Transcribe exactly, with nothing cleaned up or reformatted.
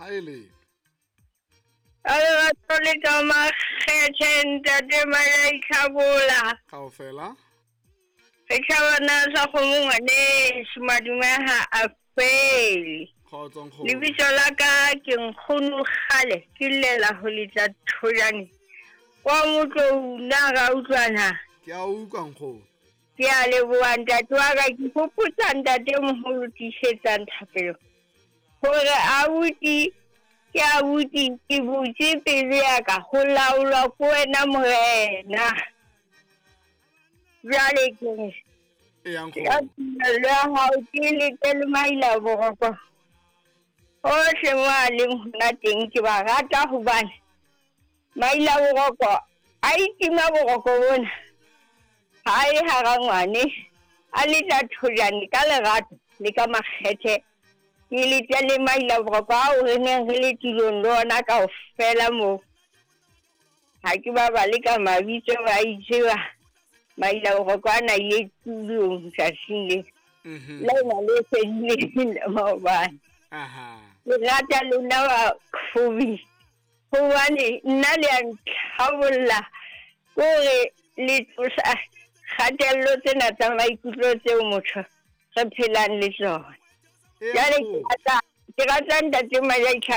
Ha e le. Lerato le ka makgethe ntate Malaitlhabola. Kaofela. Re tlhabana sa kgomo ngwaneso madume ha a fele. Kgotso nkgono. Lebitso la ka ke nkgono kgale ke llela ho letla thojane. Kwa Motlou na ra utlwana. Ke a utlwa nkgono. Ke a leboha ntate wa ka, ke hopotsa ntate moholo tiisetsang thapelo. Hore abuti ke abuti ke butse pelo ya ka ho laolwa ke wena morena. Jwale ke re, Eya ke ka nkgono. tumello ya hao ke lete le maila boroko. Hohle mo a leng hona teng ke ba rata hobane maila boroko a itima boroko bona. Ha e hara ngwane a letla thojane ka lerato le ka makgethe. Ke letle le maila boroko ao re neng re le tulong le ona kaofela moo. Ha ke ba bale ka mabitso ba itseba maila boroko ana ile tulong tsatsing le. Mhm. Lena le fedileng la maobane. Aha. Ke rata lona ba Kgobi. Hobane nna le a ntlhabolla kore le tlosa kgatello tsena tsa maikutlo tseo motho re phelang le tsona. Eya Jwale ke nkgono. rata, ke rata ntate Malaitlha